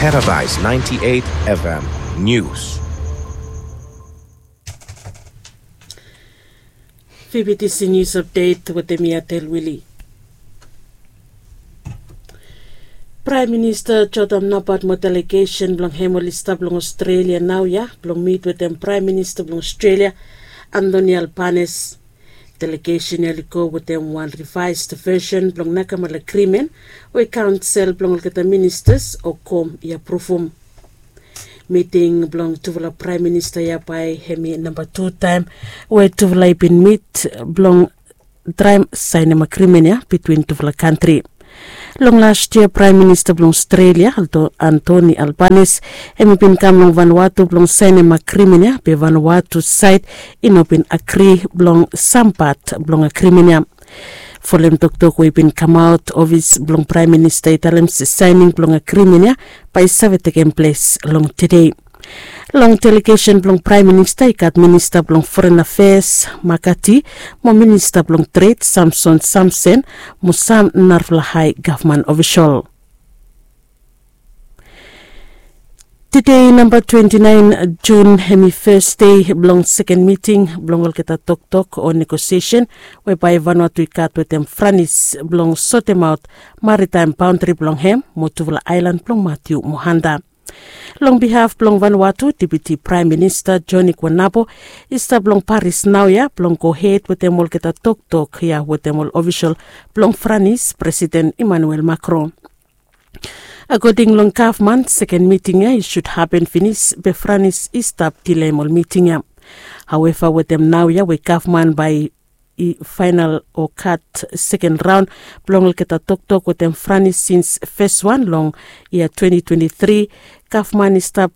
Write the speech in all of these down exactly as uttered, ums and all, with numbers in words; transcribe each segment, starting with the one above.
Paradise ninety-eight F M News. Fifty C News Update wetem mi Atel Willie. Praem Minista Jordan Napat mo delegesen blong hem oli stap long Australia naoia blong mit wetem Praem Minista blong Australia, Anthony Albanese. Delegesen ya oli go wetem wan revaes vesen blong nakamala agrimen we kaonsel blong olgeta ministas o kom i apruvum. Miting blong tufala praem minista ya bae hem i namba tu taem we tufala i bin mit blong traem saenem agrimen ya bitwin tufala kantri. Long las yia Praem Minista blong Australia, Anthony Albanese, hem i bin kam long Vanuatu blong saenem agrimen ya be Vanuatu saed i no bin agri blong sam pat blong agrimen ya. Folem toktok we i bin kamaot, ofis blong Praem Minista i talem se saening blong agrimen ya bae i save tekem ples long tede. Long delegesen blong Praem Minista i gat Minista blong Foren Afeas, Makati, mo Minista blong Tred, Samson Samsen, mo sam narafala hae gavman ofisol. Tede namba twenti naen Jun hem i fes dei blong seken miting blong olgeta toktok o negosiesen we bae Vanuatu i gat wetem Franis blong sotemaot maritaem baondri blong hem mo tufala aelan blong Matiu mo Hanta. Long bihaf blong Vanuatu, Deputi Praem Minista Joni Guanabo i stap long Paris naoia blong gohed wetem olgeta toktok ya wetem ol ofisol blong Franis, Presiden Emmanuel Macron. Akoding long gavman, seken miting ya i sud hapen finis be Franis i stap dileim ol miting ya. Haueva wetem naoia we gavman bae i faenal o gat seken raon blong olgeta toktok wetem Franis sins fes wan long yia twenti twenti tri, gavman i stap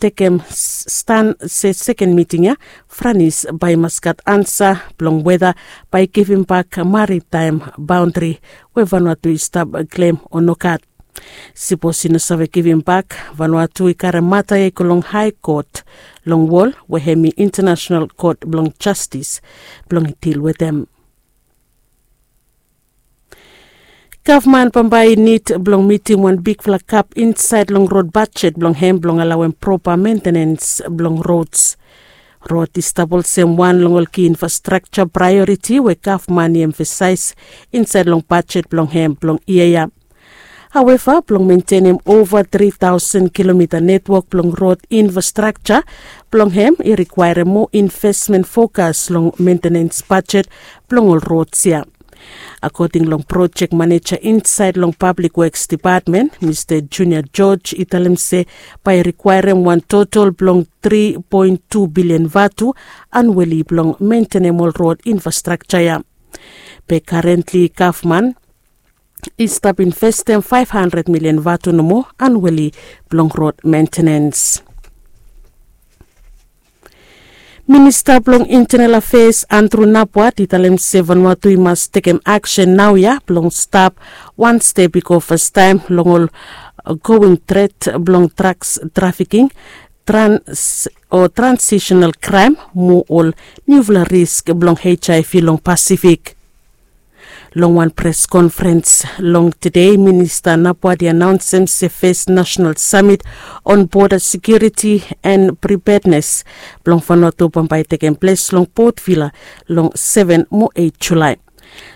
tekem stan se seken miting ya Franis bae i mas gat ansa blong weda bae i givimbak maritaem baondri we Vanuatu i stap klem o nogat. Sipos i no save givimbak, Vanuatu i karem mata ya i go long Hae Kot long wol we hem i Intanasenal Kot blong Jastis blong i dil wetem. Gavman bambae i nid blong mitim wan bigfala gap insaed long rod bajet blong hem blong alawem propa mentenens blong rods. Rod i stap olsem wan long ol ki infrastrakja praeoriti we gavman i emfasaes insaed long bajet blong hem blong yia ya. Haueva, blong mentenem ova tri taosen kilomita netwok blong rod infrastrakja blong hem i rikwaerem moa invesmen fokas long mentenens bajet blong ol rods ya. Akoding long projek maneja insaed long Pablik Woks Depatmen, Mista Junior George i talem se bae i rikwaerem wan totol blong tri poen tu bilian vatu anueli blong mentenem ol rod infrastrakja ya. Be karentli gavman i stap investem faef handred milian vatu nomo anueli blong rod mentenens. Minista blong Intenal Afeas Andrew Napuat i talem se Vanuatu i mas tekem aksen naoia blong stap wan step i go fastaem long ol going tret blong draks trafiking, trans o transisenal kraem mo ol niufala risk blong HIV long Pasifik. Long wan pres konferens long tede, Minista Napuat i anaonsem se fes nasenal samit on boda sekiuriti en pripednes blong Vanuatu bambae i tekem ples long Port Vila long seven mo eight Julai.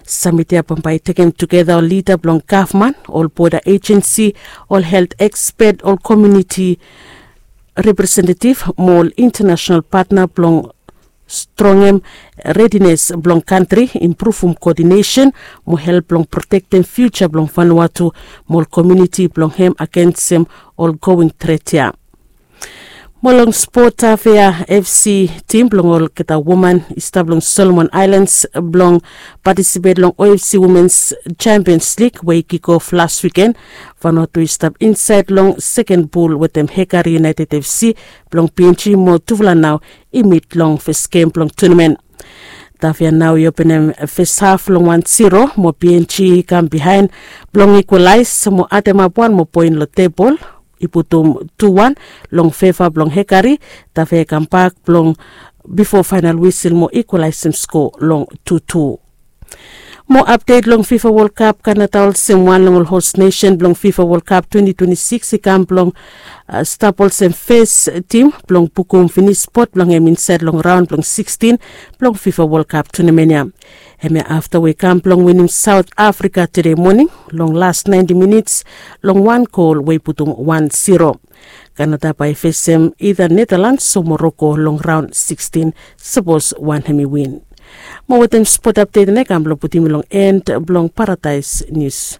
Samit ya bambae i tekem tugeta ol lida blong gavman, ol boda ejensi, ol helt ekspet, ol komuniti representetiv mo ol intanasenal patna blong strongem redines blong kantri, impruvum koodinesen mo help blong protektem fiuja blong Vanuatu mo ol komuniti blong hem agensem ol going tret ya. Mo long spot, Tafea FC tim blong olgeta woman i stap long Solomon Aelans blong patisipet long OFC Womens Champions League we i kikof las wiken. Vanuatu i stap insaed long seken pul wetem Hekari United FC blong PNG mo tufala nao i mit long fes gem blong tunamen. Tafea nao i openem fes haf long wan zero mo PNG i kam bihaen blong ikwalaes mo ademap wan moa poen long tebol i putum tu wan long feva blong Hekari. Tafea i kambak blong bifo faenal wisil mo ikwalaesem skoa long tu tu. Mo apdet long fifa wol kap, kanada olsem wan long ol hos nesen blong fifa wol kap twenti twenti sikis i kam blong stap olsem fes tim blong bukum finis spot blong hem insaed long raon blong sikstin blong fifa wol kap tunamen ya. Hemia afta we i kam blong winim saut afrika tede moning long las naenti minits long wan gol we i putum wan siro. Kanada bae i fesem ida netalans o moroko long raon sikstin sapos wan hem i win. Mo wetem spot apdet ya i kam blong putum i long en blong paradaes nius.